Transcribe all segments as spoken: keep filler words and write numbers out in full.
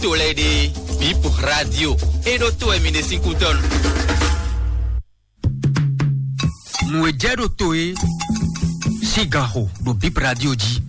To lɛ́ɛ ɖe, Bip Radio, é ɖó to wɛ mi ɖe sín kútɔ́nu. Nǔ e jɛ ɖo to é sín ganxo ɖo Bip Radio jí.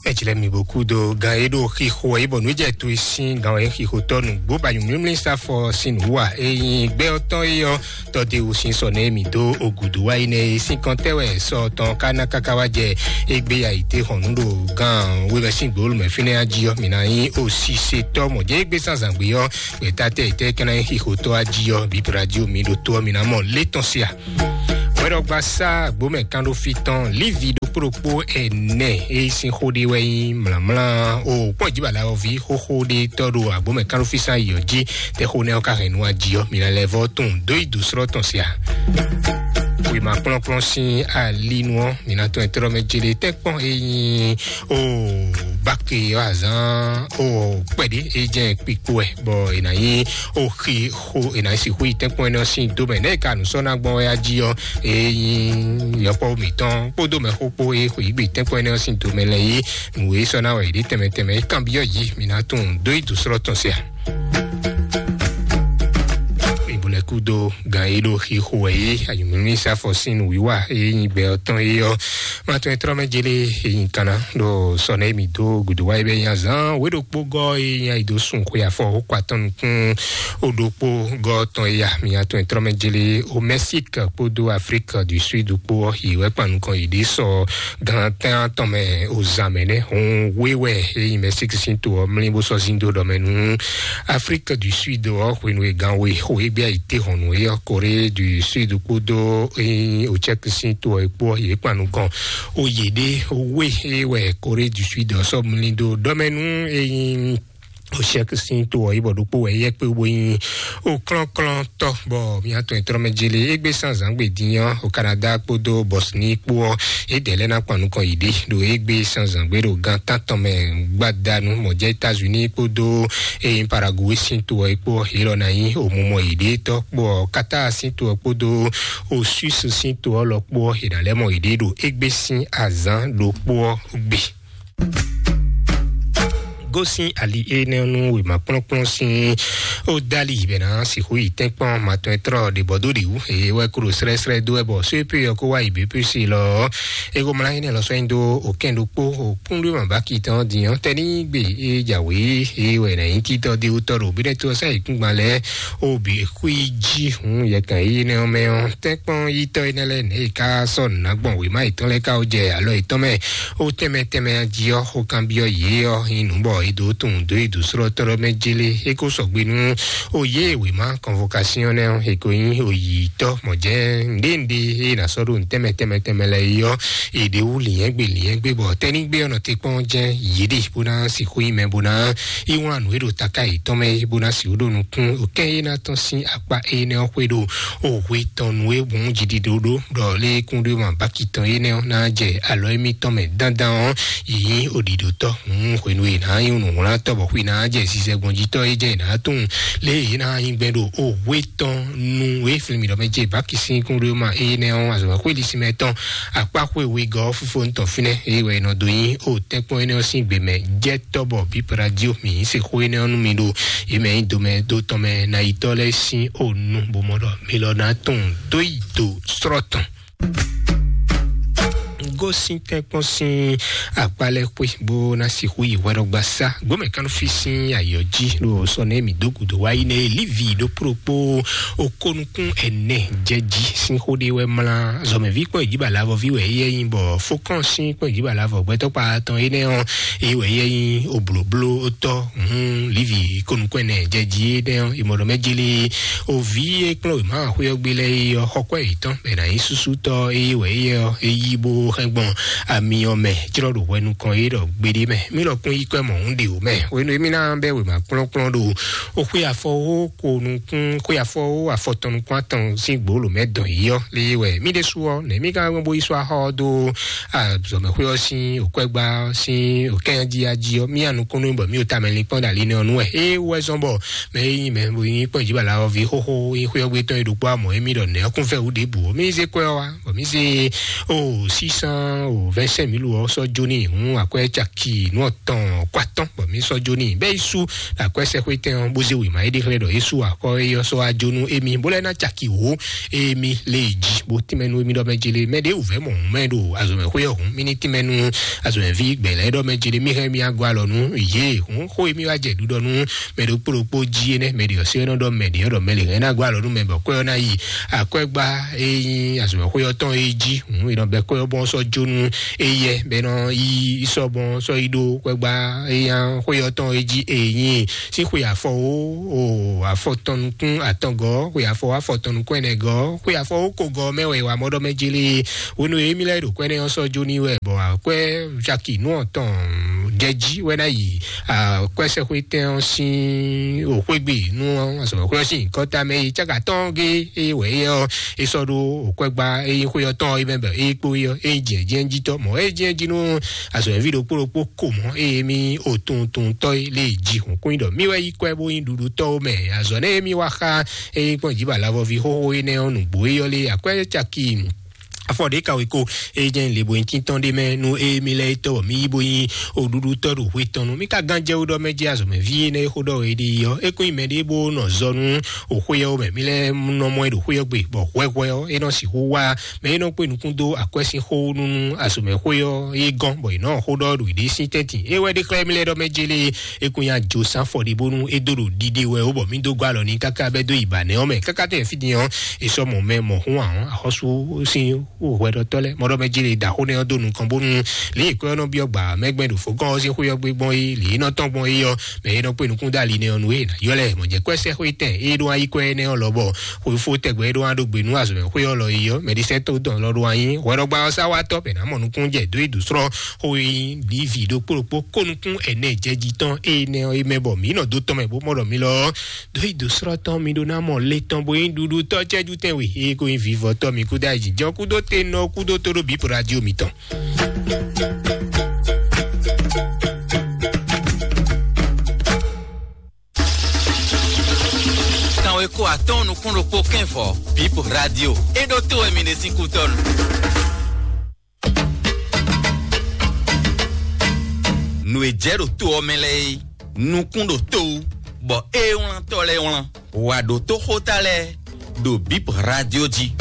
Eclɛ mi bó kú dó gan e ɖo xixo wɛ yi bɔ nǔ jɛ to e sín gan wɛ xixo tɔ nǔgbó ba nyumlímlí sáfɔ sín nǔ wa e nyi gbɛ ɔtɔn e ɔ tɔde wo sín sɔ nɛ mi dó ogudu wa yi nɛ e sín kɔntɛ wɛ sɔ tɔn ka ná kaka wa jɛ egbe ya yi te hɔn nú ɖo gan webɛ sín gbolo mɛ fínɛ ají ɔ mi ná nyi o sise tɔ mɔ jɛ egbe sanzangbe ɔ gbɛta tɛ yi tɛ kana nyi xixo tɔ ají ɔ bi radio mi ɖo to ɔ mi ná mɔ létɔn sia. Wɛɖɔgba sá agbómɛ kan ɖó fí tɔn lívi ɖokpó ɖokpó ɛnɛ e sín xó ɖé wɛ nyí mlǎmlá o kpɔ́n jí bala ɔví xóxó ɖé tɔ́ ɖo agbómɛ kan ɖó fí sán yɔ jí tɛ xó nɛ ɔ́ ka hɛn nú ají ɔ́ mi ná lɛ́ vɔ́ tún dó yi dǒ srɔ́ tɔn sia. Wěma kplɔ́nkplɔ́n sín alinu ɔ́ mi ná tɔn ɛtrɔ́ mɛ jélé tɛ́kpɔ́n e nyí o báke ɔ́ azán o kpɛɖé e jẹ́ kpikpo ɛ bɔ è nǎ nyí o xi xo è nǎ sixú yi tɛ́nkpɔ́n énɛ́ ɔ́ sín dó mɛ nɛ̌ è ka nǔ sɔ́ ná gbɔn wɛ ají ɔ́ e nyí yɔkpɔ́ mǐtɔn kpódó mɛxó kpó e xweyǐgbe tɛ́nkpɔ́n énɛ́ ɔ́ sín do mɛ lɛ́ɛ yí nǔ e sɔ́ ná wɛ yě ɖe tɛnmɛ tɛnmɛ é kanbyɔ́ yě mi ná tunwun dó yi dǒ srɔ́ tɔn se a. Ìbúlẹ̀ kúdó gan e ɖo xixo wɛ é ayǐmúmí sáfɔ sín nǔwiwa e nyí gbɛ ɔ́ tɔn é ɔ́. Matɔn e trɔ́ mɛ jélé e nyí kanna ɖo sɔnɛ mi dó gǔdo wa yi bɛ nya zán wé ɖokpó gɔ́ e nya yi dó sun xwe afɔ ó kɔ atɔn nukún ó ɖokpó gɔ́ tɔn e ya mi atɔn e trɔ́ mɛ jélé o Mɛsík kpódó Afrík du Súd kpó ɔ́ yi wɛ kpan nukɔn yi ɖě sɔ gan tɛn atɔn mɛ o zan mɛ nɛ hun wé wɛ e nyí Mɛsík sín to ɔ́ mlí bó sɔ́ zín dó ɖɔ mɛ nú Afrík du Súd ɔ́ hwenu e gan we xo e gbé ayi te hɔn nú é ɔ́ Korée du Súd kpódó e nyí o Tchɛ́k sín to ɔ́ kpó ɔ́ yě kpan nukɔn o yě ɖé o wé e wɛ Korée du Súd ɔ́ sɔ́ mlí dó ɖɔ mɛ nú e nyí o Tchɛ́k sín to ɔ́ yi bɔ ɖokpó wɛ yɛ kpé bó nyí o klɔ́nklɔ́ntɔ́ bɔ mía tɔn e trɔ́ mɛ jélé égbé sán zǎngbe dín ɔ́ o Kanada kpódó Bɔsni kpó ɔ́ yě dɛ̌ lɛ́ ná kpan nukɔn yě ɖe ɖo égbé sán zǎngbe ɖo gan tántɔn mɛ gbadanu mɔ̌ jẹ́ États-Unis kpódó e nyí Paraguay sín to ɔ́ kpó ɔ́ yě lɔ ná nyí o mumɔ yě ɖe tɔ́ kpó ɔ́ Qatar sín to ɔ́ kpódó o Suisse sín to ɔ́ lɔ kpó ɔ́ yě ná lɛ́ mɔ yě ɖe ɖo égbé sín azǎn ɖokpó ɔ́ gbe. Gosín ali énɛ́ nú wěma kplɔ́nkplɔ́n sín ó dali bɛ ná sixú yi tɛ́nkpɔ́n matɔn e trɔ ɖe bɔ dó ɖe wú eye wɛ kúɖo srɛ́srɛ́ dó wɛ bɔ só e pé ɔ́ kó wá yi běpési lɔ é ko mlá énɛ́ lɔ sɔ́ nyi dó òkɛn ɖokpó òkúnɖó ma bá ki tɔn din ɔ́ tɛ́ ní gbe é jǎwé é wɛ ná nyí títọ́ dé wútɔ́ ɖo bí ɖɛ́ tó ɔ́ sá yi kúngban lɛ́ɛ ó bǐ xwí jí hun yɛkan yi énɛ́ ɔ́ mɛ ɔ́ tɛ́nkpɔ́n yítɔ́ énɛ́ lɛ́ɛ nɛ̌ é ká sɔ́ nǔ ná gbɔn wěma yětɔn lɛ́ɛ ká ó jɛ alɔ yětɔn mɛ ó tɛnmɛ tɛnmɛ jí ɔ́ xó kanbyɔ́ yě ɔ́ nyí nǔ bɔ é dó tunwun dó yi dǒ srɔ́ tɔ́ mɛ jélé é kó sɔgbe nú ó yě wěma kɔnvokasiɔn nɛ́ ɔ́ é ko nyí òyìyítɔ́ mɔ̌ jɛ́n ŋɖéŋɖé é ná sɔ́ ɖo nǔ tɛnmɛ tɛnmɛ tɛnmɛ lɛ́ɛ é ɔ́ è ɖě wú lǐnyɛ́gbe lǐnyɛ́gbe bɔ tɛ́nígbe ɔ́ nɔ te kpɔ́n jɛ́n yě ɖe bó ná sixú nyí mɛ bó ná yi wlán nǔ e ɖo taká yětɔn mɛ é bó ná sixú ɖo nukún kɛ́n é ná tɔ́n sín akpá énɛ́ ɔ́ xwé ɖo o hwe tɔn nú e hǔn jiɖiɖo ɖó ɖɔ lé kúnɖéma báki tɔn énɛ́ ɔ́ ná jɛ alɔ émítɔn mɛ dandan ɔ́ yi nyí oɖiɖotɔ́ hǔn hwenu e ná nyí nǔwlátɔ́ bɔ xwé ná jɛ zizɛgbɔnjitɔ́ é jɛ ná tunwun lé é ná nyí gbɛn ɖo o hwe tɔn nú e flin mǐ ɖɔ mɛ jɛ báki sín kúnɖéma énɛ́ ɔ́ azɔ̌ xwé ɖisí mɛ tɔn akpá xwé wegɔ́ fífó ntɔn fínɛ́ é wɛ nɔ dó nyí o tɛ́nkpɔ́n énɛ́ ɔ́ sín gbě mɛ jɛ tɔ́ bɔ bípra jí o mǐ se xó énɛ́ ɔ́ nú mi ɖo yě mɛ nyi domɛ dó tɔn mɛ ná yi tɔ́ lɛ́ɛ sín o nu bó mɔ ɖɔ mi lɔ ná tunwun dó yi do srɔ́ tɔn. Gosín tɛ́nkpɔ́n sín akpá lɛ́ɛ xwé bó ná sixú yi hwɛɖɔgba sá gbɔmɛ kánú fí sín ayɔ jí ɖo sɔnɛ mi dó gǔdo wá yi nɛ lívi ɖokpó ɖokpó o kónukún ɛnɛ jɛ jí sín xó ɖé wɛ mlá zɔmɛví kpɔ́n ìdíbà lavɔví wɛ éyɛ nyi bɔ fókɔn sín kpɔ́n ìdíbà lavɔ gbɛtɔ́ kpa tɔn énɛ́ ɔ́ é wɛ éyɛ nyi oblǒbló tɔ́ hǔn lívi kónukún ɛnɛ jɛ jí énɛ́ ɔ́ ìmọ̀ɖɔ mɛ jélé oví e kplɔ́n wěma xwé ɔ́ gbé lɛ́ɛ é ɔ́ xɔkwɛ yětɔn bɛ ná nyí súsútɔ́ é wɛ éyɛ ɔ́ é yí bó hɛn gbɔn ami ɔ́ mɛ jlɔ́ ɖo hwɛ nukɔn é ɖɔ gbeɖé mɛ mí lɔ kún yí kwɛ mɔ̌hun ɖe wò mɛ hwenu e mí ná bɛ́ wěma kplɔ́nkplɔ́n ɖo o xwé afɔ ó ko nukún xwé afɔ ó afɔtɔn nukún atɔn sín gbǒ lǒ mɛ dɔn yí ɔ́ lé wɛ mí ɖésú ɔ́ nɛ̌ mí ka gbɔn bó yi sɔ́ axɔ ɔ́ dó azɔ̌mɛxwé ɔ́ sín òkwɛ́gbá ɔ́ sín òkɛ́nyají ají ɔ́ mí anukúnnú bɔ mí ò tamɛ linkpɔ́n ɖo ali nɛ ɔ́ nú wɛ é wɛ zɔn bɔ mɛ e nyí mɛ bo nyí kpɔ́n ìjìbá la ɔ́ ví xóxó nyí xwé ɔ́ gbé tɔn e ɖokpó amɔ̌ émí ɖɔ nɛ̌ ɔ́ kún fɛ wú ɖěbǔ ó mí zé kwɛ́ ɔ́ wá bɔ mí zé o sísán o vingt-cinq mille ɔ sɔ́ jó n'i hǔn akwɛ́ caki nú ɔtɔn kó atɔ́n bɔ mí sɔ́ jó n'i bɛ́ yi sú akwɛ́ sɛxwétɛn ɔ́ bó zé wěma é ɖe xlɛ́ ɖɔ é sú akɔ é ɔ́ sɔ́ wá jó nú émí bó lɛ́ ná caki wǒ émí lé yi jí bó tínmɛ nú émí ɖɔ mɛ jele mɛ ɖě wǔvɛ́ mɔ hǔn mɛ ɖo azɔ̌mɛxwé ɔ́ hǔn mí ní tínmɛ nú azɔ̌mɛví gbɛ̌ lɛ́ɛ ɖɔ mɛ jele mí hɛn mí agɔ alɔ nú yě hǔn xó émí wá jɛ ɖuɖɔ nú mɛ ɖokpó ɖokpó jí énɛ́ mɛ ɖě ɔ́ sé ɔ́ nɔ ɖɔ mɛ ɖě ɔ́ ɖɔ mɛ lě hɛn ná gɔ́ alɔ nú mɛ bɔ kwɛ́ ɔ́ ná yi akwɛ́gbá e nyí azɔ̌mɛxwé ɔ́ tɔn é jí hǔn è nɔ bɛ kwɛ́ ɔ́ bɔn sɔ́ jó nú éyɛ bɛ nɔ yi sɔ́ bɔn sɔ́ yi ɖó kwɛ́gbá e nyí xwé ɔ́ tɔn é jí e nyí sín xwe afɔ o o afɔ tɔn nukún atɔngɔ xwe afɔ afɔ tɔn nukún ɛnɛgɔ xwe afɔ o kogɔ mɛ wɛ wa mɔɖɔ mɛ jele wenu e mi lɛ ɖo kwɛ́ nɛ ɔ́ sɔ́ jó ní wɛ bɔ akwɛ́ caki nú ɔtɔn jɛ jí wɛ ná yi akwɛ́ sɛxwé tɛn ɔ́ sín òxwégbe nú azɔ̌xwé ɔ́ sín kɔta mɛ yi cáka tɔn gé e wɛ é ɔ́ é sɔ́ ɖó òkwɛ́gbá é nyí xwé ɔ́ tɔn é mɛ bɔ é kpó é ɔ́ é jɛ jɛ jí tɔ mɔ é jɛ jí nú azɔ̌ví ɖokpó ɖokpó ko mɔ é mi o tun tun tɔ é lé jí hɔn kún ɖɔ mi wɛ yi kwɛ bó nyí ɖuɖu tɔ ó mɛ azɔ̌ nɛ é mi wá xa é kpɔn jí ba lavɔvi xóxó é nɛ ɔ́ nǔgbó é ɔ́ lé akwɛ́ caki afɔ ɖe ka weko e jɛ le bo yin tintɔn ɖe mɛ nu e mi lɛ tɔ mi yi bo yin oɖuɖu tɔ ɖo hwe tɔn nu mi ka gan jɛ wo ɖɔ mɛ jɛ azɔ mɛ vi ne xo ɖɔ e ɖi yɔ e ko yin mɛ ɖe bo nɔ zɔ nu o xwe yɔ mɛ mi lɛ nɔ mɔ e ɖo xwe yɔ gbe bɔ hwɛhwɛ ɔ e nɔ si xo wa mɛ e nɔ kpe nukun do akwɛ sin xo nu azɔ mɛ xwe yɔ e gɔn bɔ e nɔ xo ɖɔ ɖo ɖe sin tɛntin e wɛ ɖe xlɛ mi lɛ ɖɔ mɛ jele e ko nya jo san fɔ ɖi bonu e do ɖo ɖiɖe wɛ o bɔ mi do gɔ alɔ ni kaka bɛ do yi ba nɛ ɔ mɛ kaka tɛ fi din ɔ e sɔ mɔ mɛ mɔ hun ahɔn axɔsu sin hwɛɖɔtɔ lɛ mɔɖɔ mɛ jele da xo nɛ ɔ do nukɔn bonu lè kɔ nɔ biɔ gba mɛgbɛ ɖo fo gɔn ɔ sin xo yɔ gbe gbɔn yi lè nɔ tɔn gbɔn yi ɔ mɛ yi nɔ kpe nukun dali nɛ ɔ nu e na yɔ lɛ mɔ jɛ kɔ ɛsɛ xo tɛ e ɖo ayi kɔ ɛnɛ ɔ lɔ bɔ xo fo tɛgbɛ e ɖo aɖo gbe nu azɔ xo yɔ lɔ yi ɔ mɛ ɖisɛ to dɔn lɔ ɖo anyi hwɛɖɔgba ɔ sa wa tɔ bɛ na mɔ nukun jɛ do yi du srɔ xo yi livi ɖokpó ɖokpó kó nukun ɛnɛ jɛ ji tɔn e nɛ ɔ yi mɛ bɔ mi nɔ do tɔn mɛ bó mɔ ɖɔ mi lɔ do yi do srɔ tɔn mi ɖo na mɔ le tɔn bo yi ɖuɖu tɔ cɛju tɛn we e ko yi vivɔ tɔ mi kudo ayi jɔ kudo te nɔ kudo to ɖo bi po radio mi tɔn. Kanwe ko atɔn nukun ɖokpó kɛn vɔ bip radio e ɖo to wɛ mi ɖe sín kutɔnu. Nu e jɛ ɖo to ɔ́ mɛ lɛ́ɛ é nukun ɖo to wú bɔ é wlán tɔ lɛ́ɛ wlán wà ɖo toxóta lɛ́ɛ ɖo bip radio jí.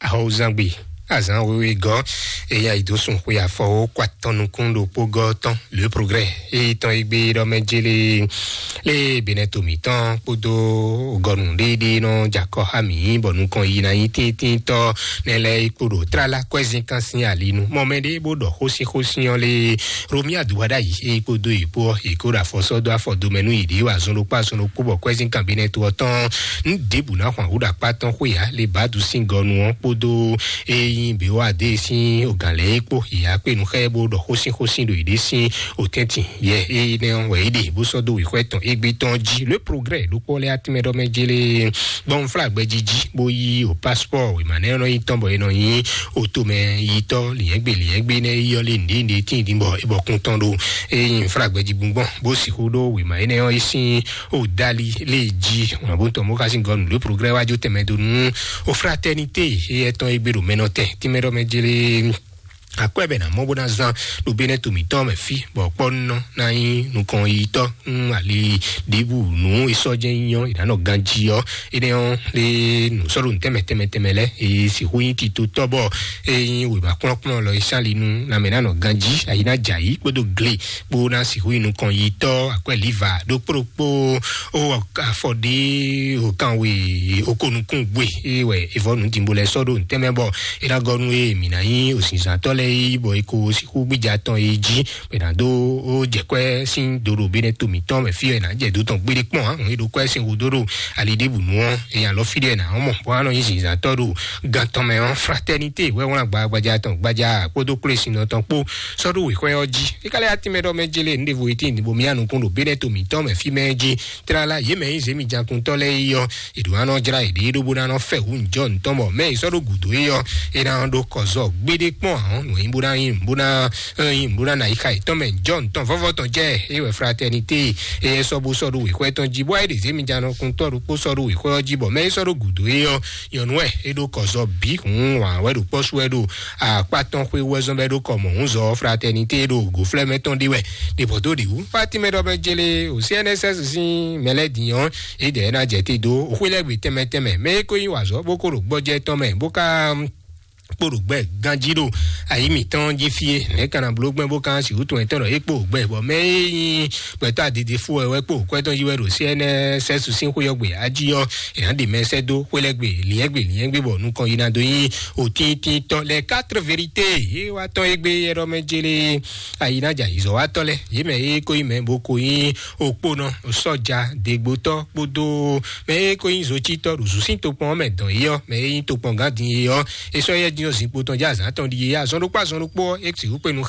Ahɔwuzangbe azan wewe gɔ eya yi do sun xwe afɔwo kó atɔn nukun ɖokpó gɔ tɔn le progrès eyi tɔn yi gbe ɖɔ mɛ jele le benɛ to mitɔn kpódó gɔnu ɖeɖe nɔ jakɔ ha mi bɔ nukɔn yi na yi tíntín tɔ ne lɛ yi kpo ɖo trala kwɛzin kan sin ali nu mɔ mɛ ɖe bó ɖɔ xósin xósin ɔ le romi aduwa ɖa yi eyi kpódó yi kpó ɔ yi kó ɖo afɔsɔ dó afɔ domɛ nú yi ɖe wa zɔn ɖokpó azɔn ɖokpó bɔ kwɛzin kan benɛ to ɔ tɔn nu ɖěbù ná xwan wú ɖo akpá tɔn xwé ya le badu sin gɔnu ɔ kpódó eyi be wa de sin ogan lɛ kpó ya kpe nu xɛ bó ɖɔ xósin xósin ɖo yi ɖe sin otɛntin yɛ eyi nɛ wɛ yi ɖe bó sɔ do wixwɛ tɔn egbe tɔn jí le progrès ɖokpɔ lɛ atimɛ ɖɔ mɛ jele gbɔn fla gbɛjiji bó yi o passeport wema nɛ nɔ yi tɔn bɔ e nɔ yi o to mɛ yi tɔ liɛgbe liɛgbe nɛ yi yɔ le nde nde tin din bɔ e bɔ kun tɔn ɖo eyi fla gbɛji gbɔn bó si xo ɖo wema enɛ ɔ yi sin o dali le ji wọn bó tɔn bó ka sin gɔnu le progrès wájú tɛmɛ do nu o fraternité eyɛ tɔn egbe ɖo mɛ nɔ tɛ timɛ ɖɔ mɛ jele akwɛ bɛ na mɔ bó na zan ɖo benɛ to mitɔn mɛ fi bɔ kpɔ nɔ na yi nukɔn yi tɔ n ali ɖibu nu esɔjɛ nyɔ ìdáná ganji ɔ ene ɔ le nu sɔɖo tɛmɛ tɛmɛ tɛmɛ lɛ eye si hu yi ti to tɔ bɔ eyi wema kplɔnkplɔn lɔ isali nu na mɛ na nɔ ganji ayi na dza yi kpodo gle kpo na si hu yi nukɔn yi tɔ akwɛ liva ɖokpo ɖokpo o afɔɖe o kanwe o konukun gbe eye wɛ evɔ nu dimbo lɛ sɔɖo tɛmɛ bɔ e na gɔ nu eye mi na yi osinzantɔ lɛ yi bɔ e ko sixu gbija tɔn yi jí bɛ na do o jɛkwɛ sin doɖo be ne to mitɔn mɛ fi ɔ na jɛ do tɔn gbede kpɔn hàn e ɖo kwɛ sin wu doɖo ali ɖe bu nu ɔ eya lɔ fi ɖe na mɔ bɔ anɔ yi zinzantɔ ɖo gan tɔn mɛ ɔ fraternité wɛ wlan gba gbaja tɔn gbaja kpodo kple sin tɔn kpo sɔɖo wexwɛ ɔ jí e ka lɛ ati mɛ ɖɔ mɛ jele nu ɖevo eti ni bo mi anukun ɖo be ne to mitɔn mɛ fi mɛ jí trala ye mɛ yi zemi jakuntɔ lɛ yi ɔ eɖo anɔ jra eɖe ɖo bo na nɔ fɛ wu njɔ ntɔn bɔ mɛ yi sɔ ɖo gudo yi ɔ e na ɖo kɔzɔ gbede kpɔn ahɔn wɛn bó ná nyi bó ná nyi bó ná na yi xa yětɔn mɛ jɔ ntɔn vɔvɔ tɔn jɛ eye wɛ fraternité eye sɔ bó sɔ ɖo wěxɔ tɔn jí bɔ eye ɖe zémi jánɔ kun tɔ ɖokpó sɔ ɖo wěxɔ jí bɔ mɛ yi sɔ ɖo gǔdo yi ɔ nyɔnu wɛ e ɖo kɔzɔ bí hun wà wɛ ɖo kpɔsú wɛ ɖo akpa tɔn xwe wɛ zɔn bɛ ɖo kɔ mɔ hun zɔ fraternité ɖo gòflɛ mɛ tɔn ɖi wɛ ɖe bɔ do ɖi wu fatima ɖɔ bɛ jele o cnss sin mɛlɛ diyan e dɛ na jɛ te do o xwe lɛ gbe tɛmɛ tɛmɛ mɛ e ko yi wà zɔ bó ko ɖo gbɔjɛ tɔn mɛ bó ka kpo ɖo gbɛ ganjí ɖo ayi mǐtɔn jí fie nɛ̌ kana bló gbɛn bó kan si wútu ɛtɔn ɖɔ é kpo gbɛ bɔ mɛ é nyí gbɛtɔ́ adidi fú wɛ wɛ kpo kwɛtɔn yí wɛ ɖo cnss sín xóyɔgbe ají ɔ́ èyàn ɖi mɛ sɛ́ dó xwélɛgbe liɛ́gbe liɛ́gbe bɔ nukɔn yi na dó nyí òtíntítɔ lɛ quatre vérité yé wá tɔn égbé yɛɖɔ mɛ jélé ayi ná dza yizɔ wá tɔ lɛ yé mɛ é kó yi mɛ bó ko nyí òkponɔ sɔja dégbótɔ kpódó mɛ é kó nyí zotítɔ ɖo zǔsín tokpɔn mɛ dɔn yé ɔ́ mɛ é nyí tokpɔn gán din yé ɔ́ é sɔ́ yɛ dín ɔ́ zinkpo tɔn jɛ azǎn tɔn ɖi yé azɔn ɖokpó azɔn ɖokpó ɔ́ é sixú kpé nu